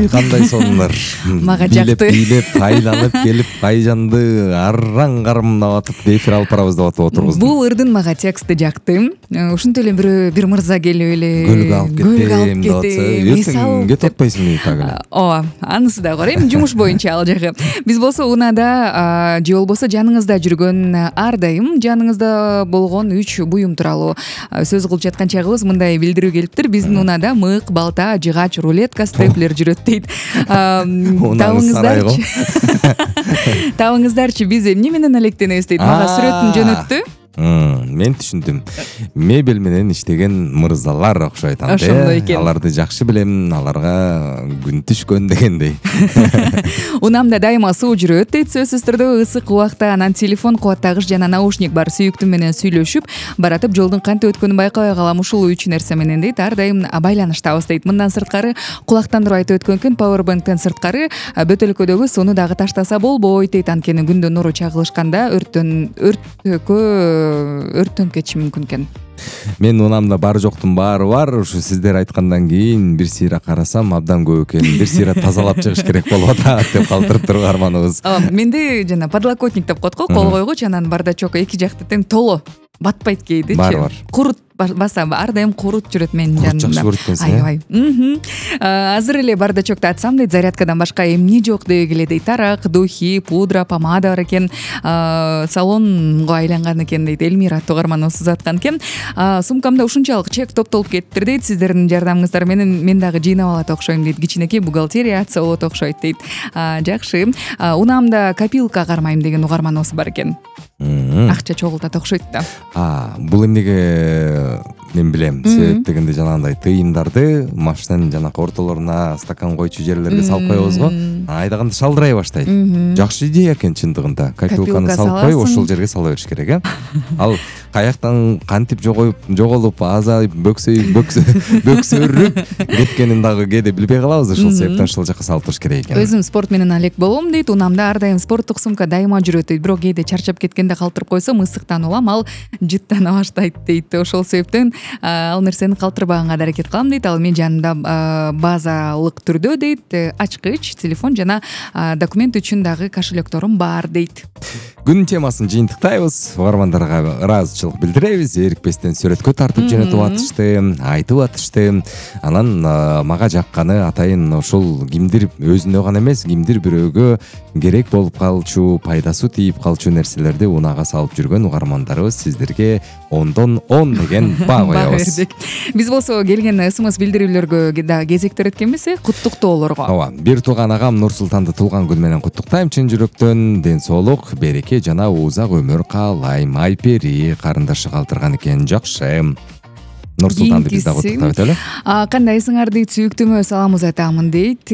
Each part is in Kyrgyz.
кандай сонунар. Мага жакты. Бийлеп айланып келип Айжанды арраң кармап атып эфир алып барабыз деп атып отурбуз. Бул ырдын мага тексти жакты. Ушинтип эле бир мырза келип эле Гөлгө алып кетем деп атса, эртең кетип атпайсыңбы так эле? Ооба, анысы да бар. Эми жумуш боюнча ал жагы. Биз болсо унаада же болбосо жаныңызда жүргөн ар дайым жаныңызда болгон 3 буюм тууралуу сөз кылып жаткан чагыбыз мындай билдирүү келиптир. Биздин унада мык, балта, жыгач, рулетка, степлер жүрөт дейт. Табыңыздарчы биз эмне менен алектенебиз дейт. Мага сүрөтүн жөнөттү. Мен түшүндүм. Мебель менен иштеген мырзалар окшойт анда. Ошондой экен. Аларды жакшы билем, аларга күн түшкөн дегендей. Унамда дайыма суу жүрөт дейт. Сөзсүз түрдө ысык убакта анан телефон, кубаттагыч жана наушник бар сүйүктүм менен сүйлөшүп баратып жолдун кантип өткөнүн байкабай калам. Ушул 3 нерсе менен дейт ар дайым байланыштабыз дейт. Мындан сырткары кулактандырып айтып өткөн экен, пауэрбанктен сырткары бөтөлкөдөгү сууну дагы таштаса болбойт дейт. Анткени күндүн нуру чагылышканда өрттөнүп кетиши мүмкүн экен. Мен унамда бар жоктун баары бар. Ушу сиздер айткандан кийин бир сыйра карасам абдан көп экен. Бир сыйра тазалап чыгыш керек болуп атат деп калтырып турганбыз. Менде жана подлокотник деп коет го, кол койгуч, анан бардачок эки жакты тең толо батпайт кейдичи. Бар. Курут баса ар дайым курут жүрөт менин жанымда. Жакшы көрүп экенсиң. Аябай. Азыр эле бардачокто атсам дейт, зарядкадан башка эмне жок деги келет дейт. Тарак, духи, пудра, помада бар экен. Салонго айланган экен дейт. Эльмира тугарманыбыз узаткан экен. Сумкамда ушунчалык чек топтолуп кетиптир дейт. Сиздердин жардамыңыздар менен мен дагы жыйнап алат окшойм дейт. Кичинекей бухгалтерия атса болот окшойт дейт. Жакшы. Унамда копилка кармайм деген угарманыбыз бар экен. Акча чогултат окшойт да. Бул эмнеге мен билем. Себеп дегенде жанагындай тыйымдарды машинанын жанакы ортолоруна, стакан койчу жерлерге салып коебуз го. Айдаганда шалдырай баштайт. Жакшы идея экен чындыгында. Копилканы салып коюп, ошол жерге сала бериш керек, э? Ал каяктан кантип жоголуп, азайып, бөксөрүп кеткенин дагы кээде билбей калабыз. Ошол себептен ошол жака салып туруш керек экен. Өзүм спорт менен алек болом дейт. Унамда ар дайым спорттук сумка дайыма жүрөт дейт. Бирок кээде чарчап кеткенде калтырып койсом, ысыктан улам, ал жыттана баштайт дейт. Ошол себептен ал нерсени калтырбаганга да аракет кылам дейт. Ал менин жанымда базалык түрдө дейт, ачкыч, телефон жана документ үчүн дагы кошелекторум бар дейт. Күн темасын жыйынтыктайбыз. Угармандарга ыраазычылык билдиребиз. Эрикпестен сүрөткө тартып жөнөтүп атышты, айтып атышты. Анан мага жакканы атайын ушул кимдир өзүнө гана эмес, кимдир бирөөгө керек болуп калчу, пайдасы тийип калчу нерселерди унага салып жүргөн угармандарыбыз сиздерге 10дон 10 деген баа коебуз. Биз болсо келген СМС билдирүүлөргө да кезектер эткенбиз, куттуктоолорго. Ооба, бир тууган агам Нурсултанды туулган күнү менен куттуктайм чын жүрөктөн. Ден соолук, береке жана узак өмүр каалайм. Айпери карындашы калтырган экен. Жакшы. Нурсултанды биз дагы куттуктап өтөлү. Кандайсыңар дейт, сүйүктүмө салам узатамын дейт.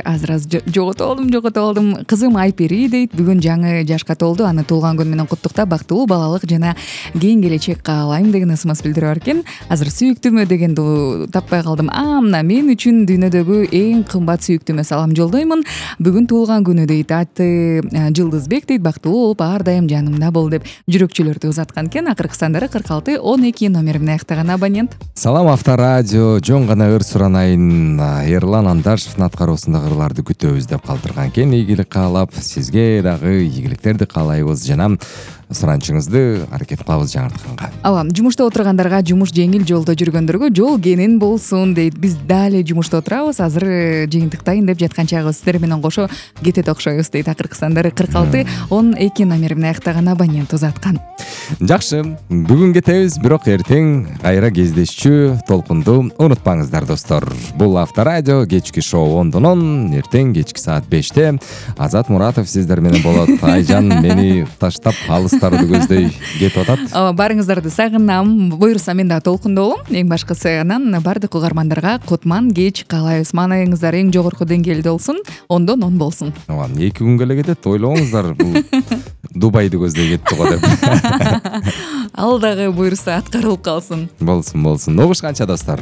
Азыр жоготуп алдым. Кызым Айпери дейт, бүгүн жаңы жашка толду. Аны туулган күнү менен куттуктап, бактылуу балалык жана кийин келечек каалайм деген СМС билдирүү бар экен. Азыр сүйүктүмө дегенди таппай калдым. Мына мен үчүн дүйнөдөгү эң кымбат сүйүктүмө салам жолдоймун. Бүгүн туулган күнү дейт. Аты Жылдызбек дейт. Бактылуу болуп ар дайым жанымда бол деп жүрөкчөлөрдү узаткан экен. Акыркы сандары 46 12 номерине аяктаган абонент. Салам Авторадио, жон гана ыр суранайын. Эрлан Андашевдин аткаруусундагы ырларды күтөбүз деп калтырган экен. Ийгилик каалап, сизге дагы ийгиликтерди каалайбыз жана суранчыңызды аракет кылабыз жаңыртканга. Ооба, жумушта отургандарга жумуш жеңил, жолдо жүргөндөргө жол кенен болсун дейт. Биз дали жумушта отурабыз, азыр жыйынтыктайын деп жаткан чагыбыз сиздер менен кошо кетет окшойбуз дейт. Акыркы сандары 46 12 номерине аяктаган абонент узаткан. Жакшы, бүгүн кетебиз, бирок эртең кайра кездешчү толкунду унутпаңыздар достор. Бул Авторадио кечки шоу 10дон 10, эртең кечки саат 5те Азат Муратов сиздер менен болот. Айжан мени таштап алыстарды көздөй кетип атат. Барыңыздарды сагынам. Буюрса мен да толкундолум. Эң башкысы анан бардык угармандарга кутман кеч каалайбыз. Маанайыңыздар эң жогорку деңгээлде болсун, 10дон 10 болсун. Ооба, 2 күнгө эле кетет. Ойлоңуздар, бул Дубайды көздөй кетти го деп. Ал дагы буюрса аткарылып калсын. Болсун. Угушканча достор.